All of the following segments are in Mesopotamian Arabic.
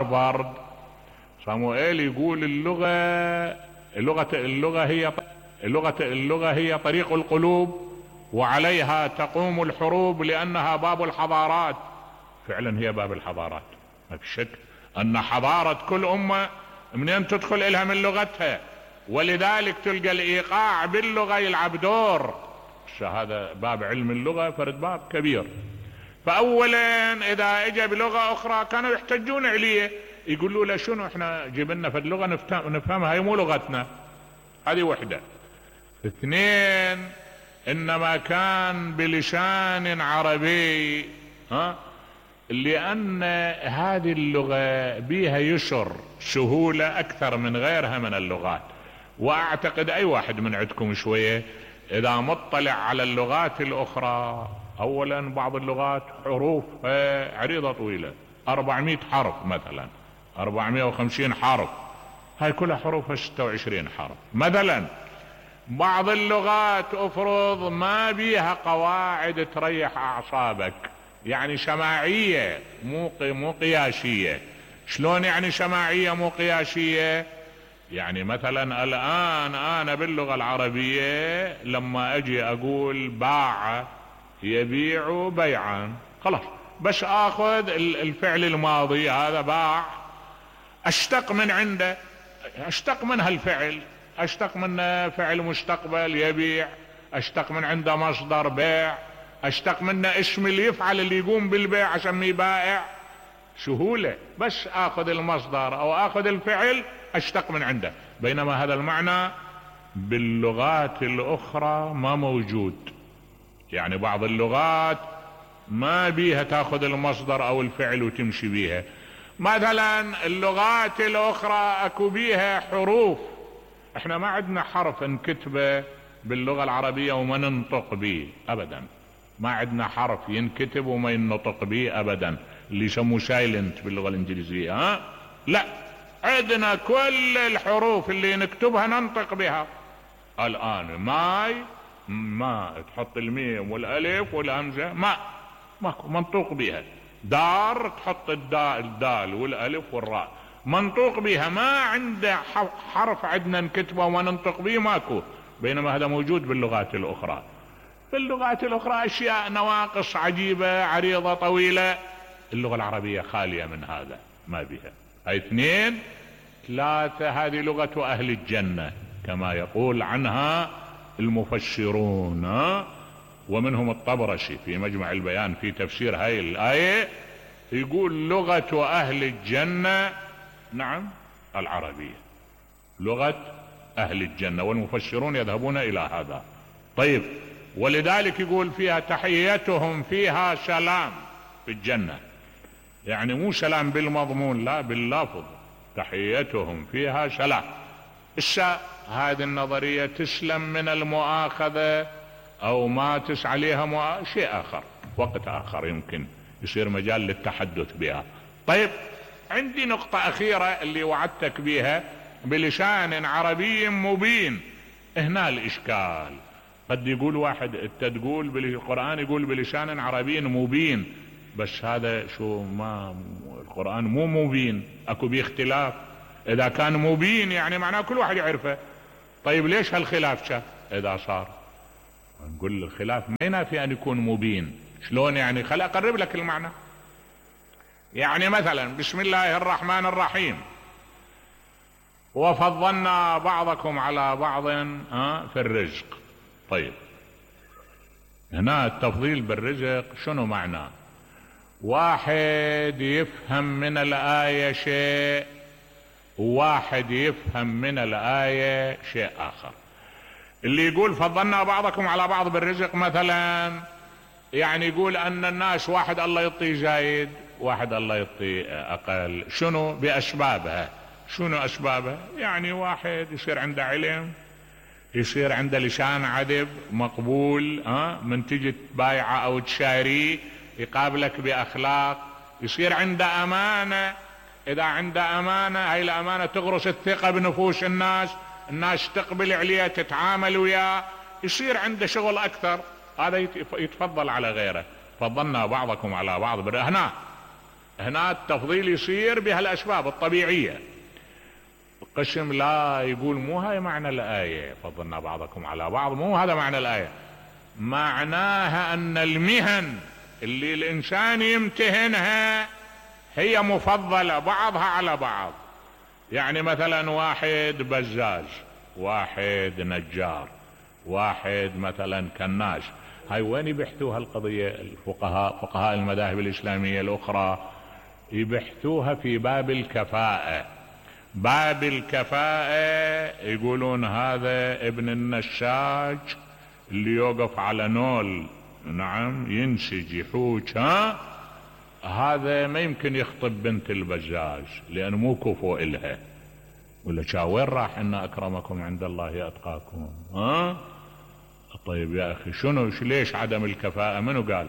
هارفارد صاموئيل يقول اللغة هي طريق القلوب، وعليها تقوم الحروب لأنها باب الحضارات. فعلا هي باب الحضارات، ما في شك أن حضارة كل أمة منين تدخل إلها من لغتها، ولذلك تلقى الإيقاع باللغة يلعب دور. هذا باب علم اللغة فرد باب كبير. فأولا إذا اجى بلغة أخرى كانوا يحتجون عليه، يقولوا له شنو احنا جبنا في اللغة نفهمها، هي مو لغتنا. هذه وحدة. اثنين، انما كان بلسان عربي، لان هذه اللغة بيها يسر سهولة اكثر من غيرها من اللغات. واعتقد اي واحد من عندكم شوية اذا مطلع على اللغات الاخرى، اولا بعض اللغات حروف عريضة طويلة 400 حرف مثلا، 450 حرف، هاي كلها حروفها 26 حرف. مثلا بعض اللغات افرض ما بيها قواعد تريح اعصابك، يعني سماعية مو قياسية. شلون يعني سماعية مو قياسية؟ يعني مثلا الان انا باللغة العربية لما اجي اقول باع يبيع بيعا، خلاص بس اخذ الفعل الماضي هذا باع، اشتق من عنده، اشتق من هالفعل، اشتق من فعل مستقبل يبيع، اشتق من عنده مصدر بيع، اشتق منه اسم اللي يفعل اللي يقوم بالبيع اسميه بائع. سهولة، بس اخذ المصدر او اخذ الفعل اشتق من عنده. بينما هذا المعنى باللغات الاخرى ما موجود. يعني بعض اللغات ما بيها تاخذ المصدر او الفعل وتمشي بيها. مثلا اللغات الاخرى اكو بيها حروف، احنا ما عندنا حرف نكتبه باللغة العربية وما ننطق به ابدا. ما عندنا حرف ينكتب وما ينطق به ابدا، اللي يسموه سايلنت باللغة الانجليزية. لا، عندنا كل الحروف اللي نكتبها ننطق بها. الان ماي، ما تحط الميم والالف والهمزة، ماكو منطوق بها. دار تحط الدال والالف والراء، منطوق بها. ما عنده حرف عندنا نكتبه وما ننطق به، ماكو. بينما هذا موجود باللغات الاخرى. في اللغات الاخرى اشياء نواقص عجيبة عريضة طويلة، اللغة العربية خالية من هذا، ما بها. هاي اثنين. ثلاثة، هذه لغة اهل الجنة كما يقول عنها المفسرون، ومنهم الطبرسي في مجمع البيان في تفسير هاي الآية يقول لغة اهل الجنة، نعم، العربية لغة اهل الجنة، والمفسرون يذهبون الى هذا. طيب، ولذلك يقول فيها تحيتهم فيها سلام في الجنة، يعني مو سلام بالمضمون، لا باللفظ، تحيتهم فيها سلام. هذه النظرية تسلم من المؤاخذة او ما عليها شيء اخر، وقت اخر يمكن يصير مجال للتحدث بها. طيب، عندي نقطة اخيرة اللي وعدتك بها بلسان عربي مبين. هنا الاشكال، قد يقول واحد انت تقول بالقرآن يقول بلسان عربي مبين، بس هذا شو، ما القرآن مو مبين، اكو بيه اختلاف. اذا كان مبين يعني معناه كل واحد يعرفه. طيب ليش هالخلاف شا اذا صار؟ نقول الخلاف ما ينافي ان يكون مبين. شلون يعني؟ خل اقرب لك المعنى. يعني مثلا بسم الله الرحمن الرحيم، وفضلنا بعضكم على بعض في الرزق. طيب، هنا التفضيل بالرزق شنو معناه؟ واحد يفهم من الآية شيء، وواحد يفهم من الآية شيء آخر. اللي يقول فضلنا بعضكم على بعض بالرزق مثلا، يعني يقول أن الناس واحد الله يعطيه زايد، واحد الله يعطيه أقل. شنو بأسبابها؟ شنو أسبابها؟ يعني واحد يصير عنده علم، يصير عنده لسان عذب مقبول، من تجي تبايعه أو تشاريه يقابلك بأخلاق، يصير عنده أمانة. إذا عنده أمانة، هاي الأمانة تغرس الثقة بنفوس الناس تقبل عليه، تتعامل وياه، يصير عنده شغل أكثر. هذا يتفضل على غيره. فضلنا بعضكم على بعض. هنا هنا التفضيل يصير بهالاسباب الطبيعية. القسم لا يقول مو هاي معنى الآية، فضلنا بعضكم على بعض، مو هذا معنى الآية. معناها ان المهن اللي الانسان يمتهنها هي مفضلة بعضها على بعض. يعني مثلا واحد بزاز، واحد نجار، واحد مثلا كناش، هاي وين يبحثوها القضية فقهاء المذاهب الإسلامية الأخرى؟ يبحثوها في باب الكفاءة. باب الكفاءة يقولون هذا ابن النساج اللي يوقف على نول، نعم، ينسج يحوج، هذا ما يمكن يخطب بنت البزاز لأنه مو كفو إلها. ولا وين راح إن أكرمكم عند الله أتقاكم؟ طيب يا أخي شنو ليش عدم الكفاءة؟ منو قال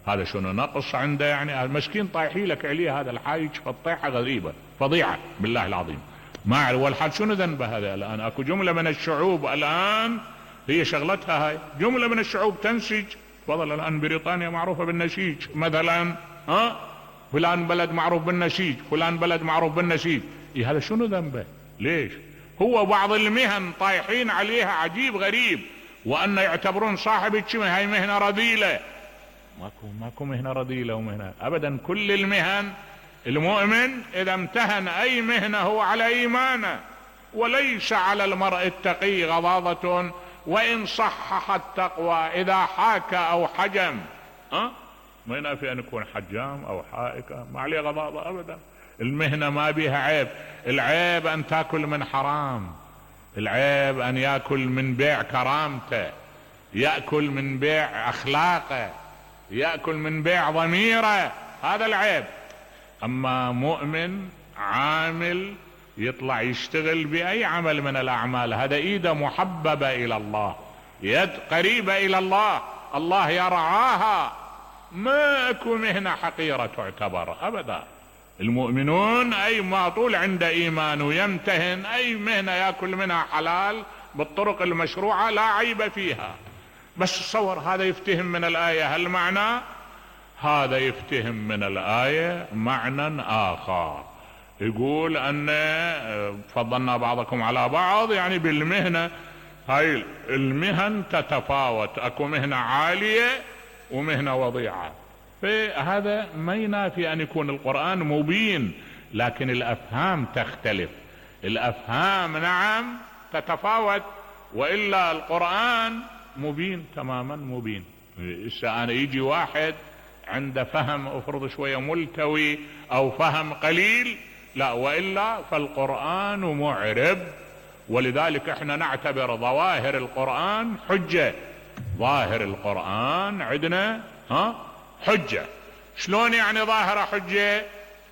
هذا؟ شنو نقص عنده؟ يعني المسكين طايحي لك عليه هذا الحايج فالطيحة غريبة فضيعة بالله العظيم. ما والحال شنو ذنبه هذا؟ الآن اكو جملة من الشعوب الآن هي شغلتها هاي، جملة من الشعوب تنسج. تفضل الآن بريطانيا معروفة بالنسيج مثلا، فلان بلد معروف بالنسيج، فلان بلد معروف بالنسيج. هذا شنو ذنبه؟ ليش؟ هو بعض المهن طايحين عليها عجيب غريب، وأن يعتبرون صاحب الشمه هاي مهنة رذيلة. ماكو مهنة رذيلة ومهنة أبدا. كل المهن المؤمن إذا امتهن أي مهنة هو على إيمانه، وليس على المرء التقي غضاضة وإن صحح التقوى إذا حاك أو حجم. ما ينافي أن يكون حجام أو حائك، ما عليه غضاضة أبدا. المهنة ما بيها عيب. العيب أن تأكل من حرام، العيب أن يأكل من بيع كرامته، يأكل من بيع أخلاقه، يأكل من بيع ضميره، هذا العيب. أما مؤمن عامل يطلع يشتغل بأي عمل من الأعمال، هذا إيده محببة إلى الله، يد قريبة إلى الله، الله يرعاها. ما أكو مهنة حقيرة تعتبر أبدا. المؤمنون أي ما طول عند إيمان ويمتهن أي مهنة يأكل منها حلال بالطرق المشروعة لا عيب فيها. بس تصور هذا يفتهم من الآية هالمعنى، هذا يفتهم من الآية معنى آخر، يقول أن فضلنا بعضكم على بعض، يعني بالمهنة هاي المهن تتفاوت، أكو مهنة عالية ومهنة وضيعة. فهذا ما ينافي أن يكون القرآن مبين، لكن الأفهام تختلف. الأفهام نعم تتفاوت، وإلا القرآن مبين تماما مبين. أنا يجي واحد عنده فهم افرض شوية ملتوي أو فهم قليل، لا، وإلا فالقرآن معرب. ولذلك احنا نعتبر ظواهر القرآن حجة. ظاهر القرآن عندنا حجة. شلون يعني ظاهرة حجة؟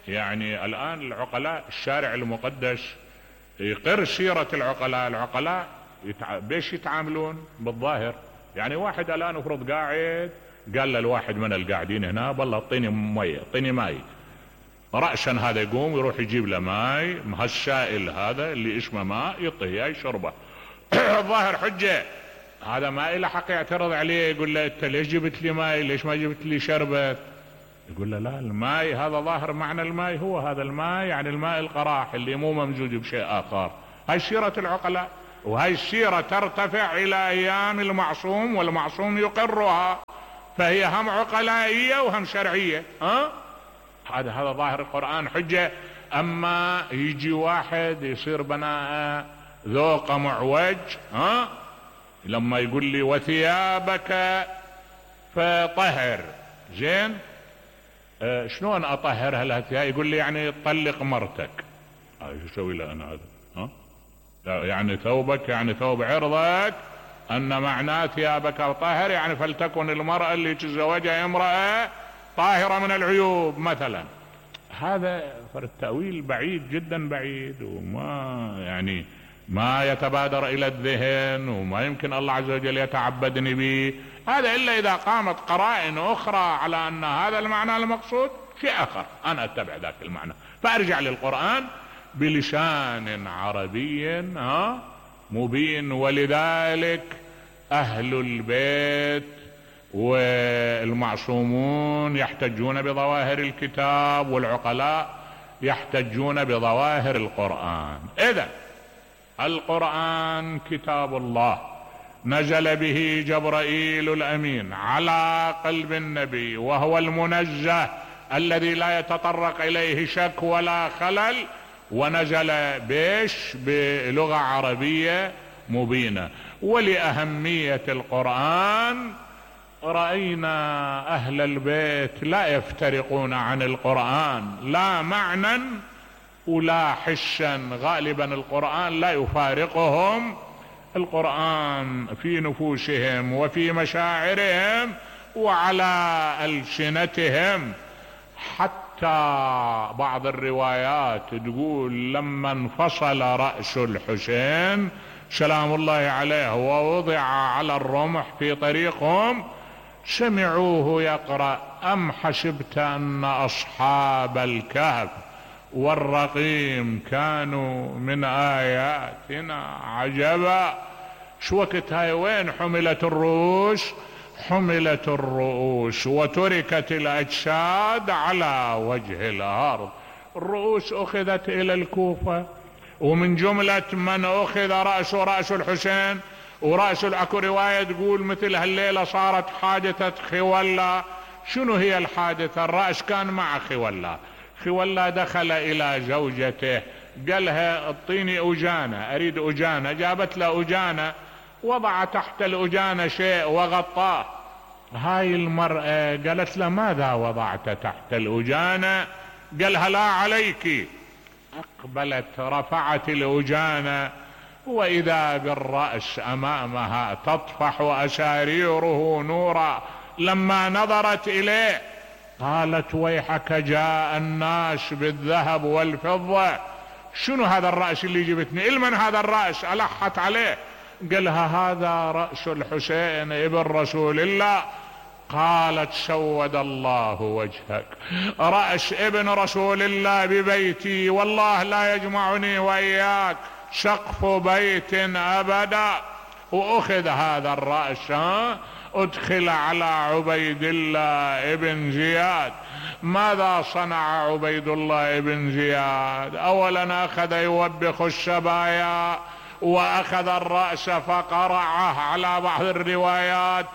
يعني الآن العقلاء الشارع المقدس يقر سيرة العقلاء بيش يتعاملون بالظاهر. يعني واحد الآن افرض قاعد قال للواحد من القاعدين هنا بالله اعطيني مية، اعطيني ماي، رأسا هذا يقوم يروح يجيب له ماي، هالسائل هذا اللي اسمه ماء يعطيه يشربه. الظاهر حجة. هذا ما له حق يعترض عليه، يقول له انت ليش جبت لي ماي، ليش ما جبت لي شربت؟ يقول له لا، الماي هذا ظاهر معنى الماي هو هذا الماي، يعني الماء القراح اللي مو ممزوج بشيء آخر. هاي سيرة العقلاء، وهاي السيرة ترتفع إلى أيام المعصوم، والمعصوم يقرها، فهي هم عقلائية وهم شرعية. هذا ظاهر القرآن حجة. أما يجي واحد يصير بناء ذوق معوج، لما يقول لي وثيابك فطهر، زين شلون اطهرها الثياب؟ يقول لي يعني طلق مرتك. شو اسوي له انا هذا؟ يعني ثوبك، يعني ثوب عرضك، ان معناه ثيابك طهر يعني فلتكن المرأة اللي تزوجها امرأة طاهرة من العيوب مثلا. هذا التأويل بعيد جدا بعيد، وما يعني ما يتبادر الى الذهن، وما يمكن الله عز وجل يتعبدني به هذا الا اذا قامت قرائن اخرى على ان هذا المعنى المقصود شيء اخر، انا اتبع ذاك المعنى، فارجع للقرآن بلسان عربي مبين. ولذلك اهل البيت والمعصومون يحتجون بظواهر الكتاب، والعقلاء يحتجون بظواهر القرآن. إذن القرآن كتاب الله نزل به جبرائيل الأمين على قلب النبي، وهو المنزه الذي لا يتطرق إليه شك ولا خلل، ونزل بلغة عربية مبينة. ولأهمية القرآن رأينا أهل البيت لا يفترقون عن القرآن لا معنى ولا حشا، غالبا القرآن لا يفارقهم. القرآن في نفوسهم وفي مشاعرهم وعلى ألسنتهم. حتى بعض الروايات تقول لما انفصل رأس الحسين سلام الله عليه ووضع على الرمح في طريقهم، سمعوه يقرأ: أم حسبت أن أصحاب الكهف والرقيم كانوا من آياتنا عجبا. شو وقت هاي وين حملت الرؤوس؟ حملت الرؤوس وتركت الأجساد على وجه الأرض. الرؤوس أخذت إلى الكوفة، ومن جملة من أخذ رأس الحسين ورأس. اكو رواية تقول مثل هالليلة صارت حادثة خولا. شنو هي الحادثة؟ الرأس كان مع خولا. خولا دخل إلى زوجته قالها اعطيني أجانة، أريد أجانة. جابت له أجانة، وضع تحت الأجانة شيء وغطاه. هاي المرأة قالت له ماذا وضعت تحت الأجانة؟ قالها لا عليك. أقبلت رفعت الأجانة، وإذا بالرأس أمامها تطفح أساريره نورا. لما نظرت إليه قالت ويحك جاء الناس بالذهب والفضة. شنو هذا الرأس اللي جبتني؟ المن هذا الرأس؟ ألحت عليه. قالها هذا رأس الحسين ابن رسول الله. قالت سود الله وجهك، رأس ابن رسول الله ببيتي، والله لا يجمعني وإياك سقف بيت أبدا. وأخذ هذا الرأس ادخل على عبيد الله ابن زياد. ماذا صنع عبيد الله ابن زياد؟ أولا أخذ يوبخ السبايا، وأخذ الرأس فقرعه على بعض الروايات.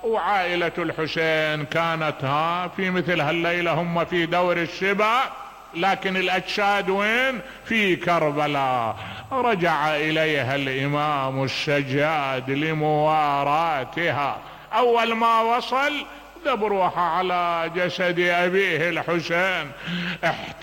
وعائلة الحسين كانت في مثل هالليلة هم في دور السبا، لكن الأجساد وين؟ في كربلاء. رجع إليها الإمام السجاد لمواراتها. أول ما وصل ذبروها على جسد أبيه الحسين.